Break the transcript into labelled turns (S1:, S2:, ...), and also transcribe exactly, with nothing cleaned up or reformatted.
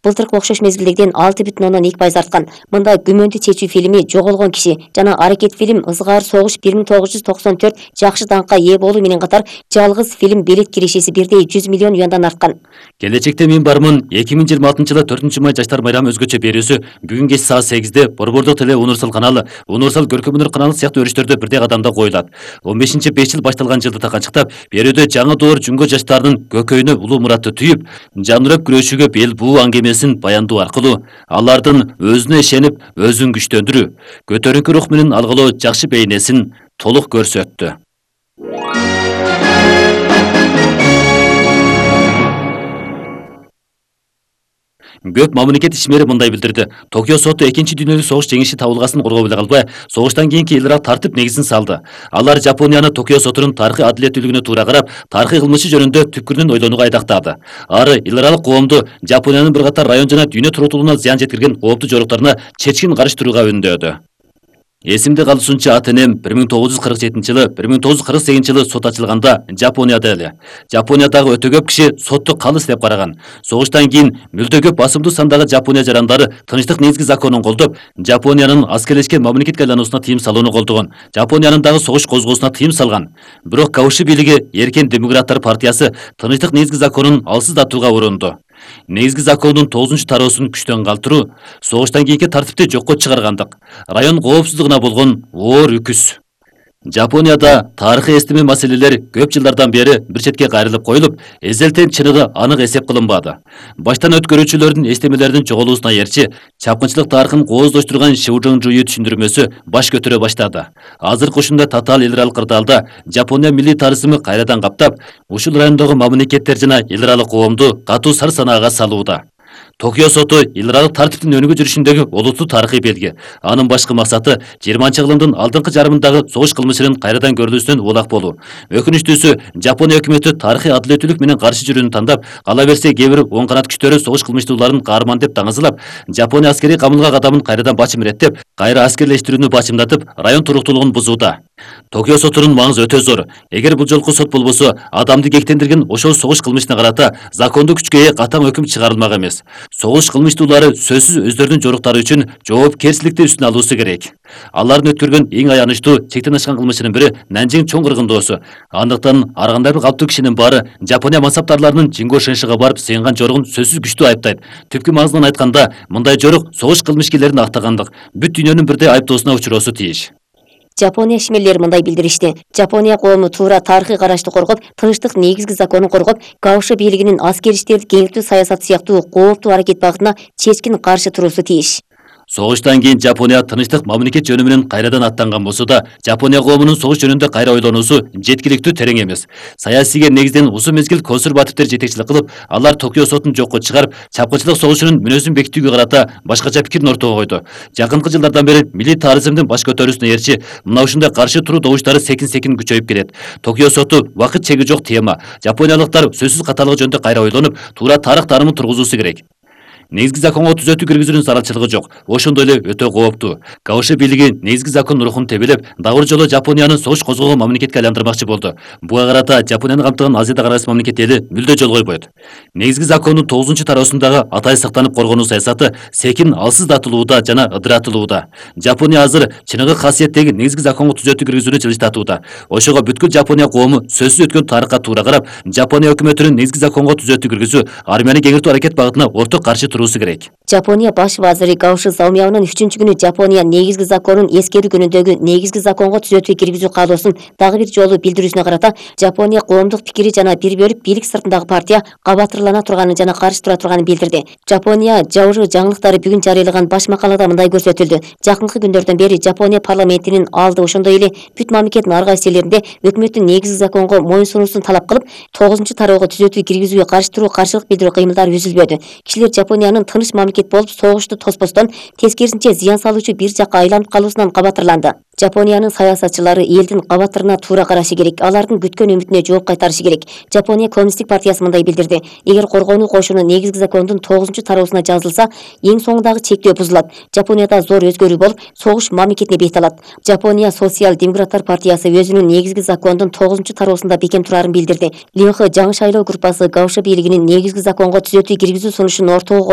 S1: былтыркы окшош мезгилдегиден алты бүтүн ондон эки пайыз арткан. Мында Күмөндү чечүү фильми, Жоголгон киши жана Аракет фильм, Ызгар согуш бир миң тогуз жүз токсон төрт жакшы даңкка ээ болуу менен катар Жалгыз фильм билет киришеси бирдей жүз миллион юандан арткан.
S2: Келечекте мен бармын эки миң жыйырма алтынчы жылы төртүнчү май жаштар майрамы өзгөчө берүүсү бүгүн кеч саат сегизде Борбордук теле Универсал каналы, Универсал көркөм өнөр каналы сыяктуу өрүштөрдө бирдей кадамда коюлат. он бешинчи беш жыл башталган жылды канчыктап, берүүдө жаңы доор жүнгө жаштардын көкөйүнө улуу муратты түйүп, жанырып күрөшүүгө бел буу аңгемесин баяндоо аркылуу алардын өзүнө ишенип, өзүн күчтөндүрүү, көтөрүнкү рух менен алгылоо жакшы бейнесин толук көрсөттү. Көп мамлекет ишмери мындай билдирди. Токио соту экинчи дүйнөлүк согуш жеңиши табылгасын коргоо эле калбай, согуштан кийинки элирак тартип негизин салды. Алар Жапонияны Токио сотунун тарыхый адилеттүүлүгүнө туура карап, тарыхый кылмышы жөнүндө түпкүрүнөн ойлонууга айдактады. Ары элиралык коомду Жапониянын бир катар район жана дүйнө туруктуулугуна зыян жеткирген кооптуу жоруктарына чечкин каршы турууга үндөдү. Эсимде калуусунча ата-энем бир миң тогуз жүз кырк жетинчи жылы бир миң тогуз жүз кырк сегизинчи жылы сот ачылганда Жапонияда эле. Жапониядагы өтө көп киши сотту калыс деп караган. Согуштан кийин мүлдө көп басымдуу сандагы Жапония жарандары тынчтык негизги законун колдоп, Жапониянын аскерлешкен мамлекетке айлануусуна тыйым салууну колдогон. Жапониянын дагы согуш козгоосуна тыйым салган. Бирок Кауши бийлиги Эркен демократтар партиясы тынчтык негизги законун алсыздатууга урунду. Негизги закондун тогузунчу тароосун күчтөн калтыруу, согуштан кийинки тартипти жокко чыгаргандык, район коопсуздугуна болгон оор үкүс. Жапонияда тарыхый эстеме маселелер көп жылдардан бери бир четке кайрылып коюлуп, эзелтен чыныгы анык эсеп кылынбады. Баштан өткөрүүчүлөрдүн эстемелеринин жоголуусуна ээрчи, чапкынчылык тарыхын кооздоштурган Шиужоңжуй түшүндүрмөсү баш көтөрө баштады. Азыркы ушундай татаал эл аралык кырдаалда Жапония милли тарыхымы кайрадан каптап, ушул райондогу мамлекеттер жана эл аралык коомду катуу сар санаага салууда. Токио соту эл аралык тартиптин өнүгүү жүрүшүндөгү олуттуу тарыхый белги. Анын башкы максаты жыйырманчы кылымдын алдыңкы жарымындагы согуш кылмышынын кайрадан көрүлүүсүнөн улак болуу. Өкүнүчтүүсү, Жапония өкмөтү тарыхый адилеттүүлүк менен каршы жүрүүнү тандап, кала берсе кээ бир оң канат күчтөрү согуш кылмыштууларын каарман деп таңызылап, Жапония аскерий камылга кадамын кайрадан башым иреттеп, кайра аскерлештирүүнү башымдатып, район туруктуулугун бузууда. Токио сотунун маңызы өтө зор. Эгер бул жолку сот болбосо, адамды кектендирген ошол согуш кылмышына карата закондуу күчкө ээ катаң өкүм чыгарылмак эмес. Согуш кылмыштуулары сөзсүз өздөрүнүн жоруктары үчүн жоопкерчиликти үстүнө алуусу керек. Алардын өткөргөн эң аянычтуу чектен ашкан кылмышынын бири Нанжиң чоң кыргындоосу. Андыктан ар кандай бир калптуу кишинин баары Жапония мансаптарларынын Жинго Шеншиге барып сыйынган жоругун сөзсүз күчтүү айыптайт. Түпкү маңызынан айтканда, мындай жорук согуш кылмышкерлерин актагандык, бүт дүйнөнүн бирдей айыптоосуна учуроосу тийиш.
S1: Жапония ишмерлери мындай билдиришти. Жапония коому туура тарыхый карашты коргоп, тынчтык негизги законун коргоп, Кауши бийлигинин аскер иштерди кеңейтүү саясаты сыяктуу кооптуу аракет багытына чечкин каршы туруусу тийиш.
S2: Согуштан кийин Жапония тынчтык мамлекет жөнү менен кайрадан аттанган болсо да, Жапония коомунун согуш жөнүндө кайра ойлонуусу жеткиликтүү терең эмес. Саясийге негизден узун мезгил консервативдер жетекчилик кылып, алар Токио сотун жокко чыгарып, чапкынчылык согушунун мүнөзүн бекитүүгө карата башкача пикирин ортого койду. Жакынкы жылдардан бери милли тарыхымдын баш көтөрүүсүнө ээрчи, мына ушундай каршы туруу добуштары секин-секин күчөйүп келет. Токио соту убакыт чеги жок тема. Жапониялыктар сөзсүз каталыгы жөнүндө кайра ойлонуп, туура тарых таанымын тургузуусу керек. Негизги законго түзөтүү киргизүүнүн зарылчылыгы жок. Ошондой эле өтө кооптуу. Кауши бийлиги негизги закон рухун тебелеп, дагы бир жолу Жапонияны согуш козгогон мамлекетке айландырмакчы болду. Буга карата Жапонияны камтыган Азияда карайсыз мамлекет эли мүлдө жол койбойт. Негизги закондун тогузунчу тароосундагы атай сактанып коргонуу саясаты секин алсыздатылууда жана ыдыратылууда. Жапония азыр чыныгы касиеттеги негизги законго түзөтүү киргизүүнү жылыштатууда. Ошого бүткүл Жапония коому сөзсүз өткөн тарыхка туура карап, Жапония өкмөтүнүн негизги законго түзөтүү киргизүү, армияны кеңейтүү аракет багытына орток каршы туруусу керек.
S1: Жапония баш вазири Кауши Заумиянын үчүнчү күнү Жапония негизги законун эскерүү күнүндөгү негизги законго түзөтүү киргизүү каалоосун дагы бир жолу билдирүүсүнө карата, Жапония коомдук пикири жана бир бөлүп бийлик сыртындагы партия кабатырлана турганын жана каршы тура турганын билдирди. Жапония жабыры жаңылыктары бүгүн жарыялаган баш макалада мындай көрсөтүлдү. Жакынкы күндөрдөн бери Жапония парламентинин алды, ошондой эле бүт мамлекеттин ар кайсы жерлеринде өкмөттүн негизги законго моюн сунуусун талап кылып, тогузунчу тароого түзөтүү киргизүүгө каршы туруу, каршылык билдирүү кыймылдары үзүлбөдү. Кишилер Жапониянын тыныч мамлекет болуп, согушту тоспостон тескерисинче зыян салуучу бир жакка айланып калуусунан кабатырланды. Жапониянын саясатчылары элдин кабатырына туура карашы керек, алардын күткөн үмүтүнө жооп кайтарышы керек. Жапония коммунисттик партиясы мындай билдирди. Эгер коргонуу кошуну негизги закондун тогузунчу тароосуна жазылса, эң соңундагы чектөө бузулат. Жапонияда зор өзгөрүү болуп, согуш мамлекетине бет алат. Жапония социал-демократтар партиясы өзүнүн негизги закондун тогузунчу тароосунда бекем турарын билдирди. Линх жаңы шайлоо группасы Кауши бийлигинин негизги законго түзөтүү киргизүү сунушун ортого